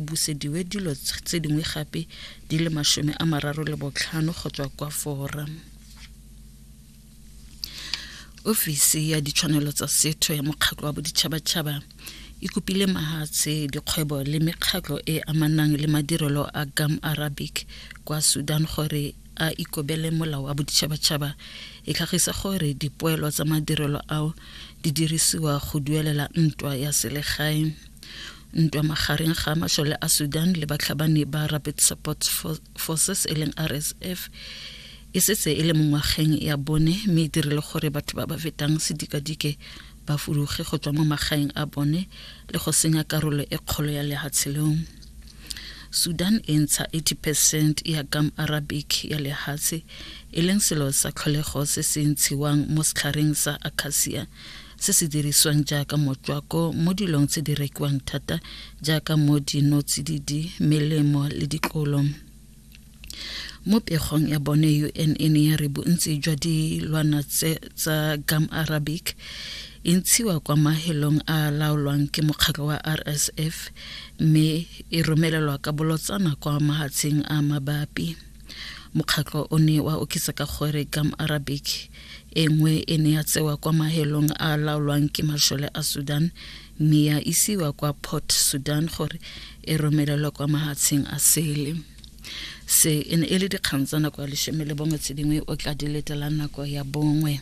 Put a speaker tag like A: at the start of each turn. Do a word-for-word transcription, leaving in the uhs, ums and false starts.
A: busediwe dilo tse dingwe gape di le masome a mararo le botlhano go tswa kwa Fora. Ofisi ya ditshwanelo tsa setho ya mokgatlho wa boditšhabatšhaba e kopile mahatshe, dikgwebo le mekgatlho e amanang le madirelo a gum arabic kwa Sudan gore a ikobele molao wa boditšhabatšhaba. E tlhagisa gore dipoelo tsa madirelo ao di dirisiwa go duelela ntwa ya selegae. Ntwa magareng ga masole a Sudan le batlhabani ba Rapid Support Forces e leng R S F e setse e le mo ngwageng ya bone, mme e dirile gore batho ba ba fetang sedikadike ba fuduge go tswa mo magaeng a bone le go senya karolo e kgolo ya lehatshe leo. Sudan e ntsha eighty percent ya gum arabic ya lehatshe, e leng selo sa tlholego se se ntshiwang mo setlhareng sa acacia se se dirisiwang jaaka motswako mo dilong tse di rekiwang thata jaaka mo dinotsididi, melemo le ditlolo. Mo pegong ya bone, U N e ne ya re bontsi jwa dilwana tsa gum arabic e ntshiwa kwa mahelong a laolwang ke mokgatlho wa R S F mme e romelelwa ka bolotsana kwa mahatsheng a mabapi. Mokgatlho o ne wa oketsa ka gore gum arabic e nngwe e ne ya tsewa kwa mahelong a laolwang ke masole a Sudan mme ya isiwa kwa Port Sudan gore e romelelwe kwa mahatsheng a sele. Se e ne e le dikgang tsa nako ya leshome le bongwe, tse dingwe o tla di letela nako ya bongwe.